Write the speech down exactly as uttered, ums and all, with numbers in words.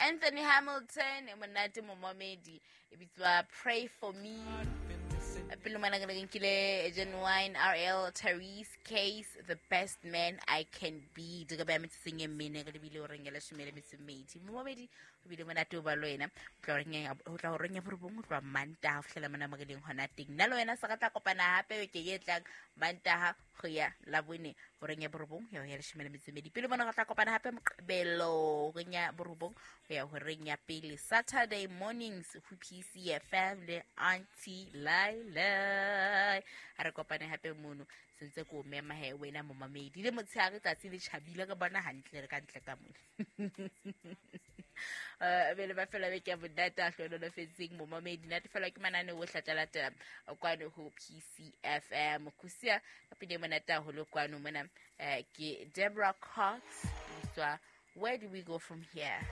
Anthony Hamilton e monate momamedi e bitswa Pray For Me. Pele mona ke nkile Genuine R L Therese Case, The Best Man I Can Be. Di ka beya metsotsong e mene re lebile horeng ya leshome le metso e mmedi. Momamedi o bile monate o ba le wena. O tla horeng ya, o tla horeng ya borobong, o tloha Mantaha ho fihlela mona mo re leng hona teng. Nna le wena se re tla kopana hape beke e tlang Mantaha ho ya Labone horeng ya borobong ho ya ho ya leshome le metso e mmedi. Pele mona re tla kopana hape Moqebelo horeng ya borobong ho ya horeng ya pele Saturday mornings ho P C F M le Auntie Laila. Ha re kopane hape mono sentse ko mema he wena momamedi le motshehare tsatsi le tjhabile re bona hantle re ka ntle ka mona. Eh, bele ba fela beke ya monate a hlohonolofetseng momamedi. Natefelwa ke mananeo ohle a tla latela kwano ho P C F M. Kusia ka pina e monate haholo kwano mona, eh, ke Deborah Cox, bitswa Where Do We Go From Here?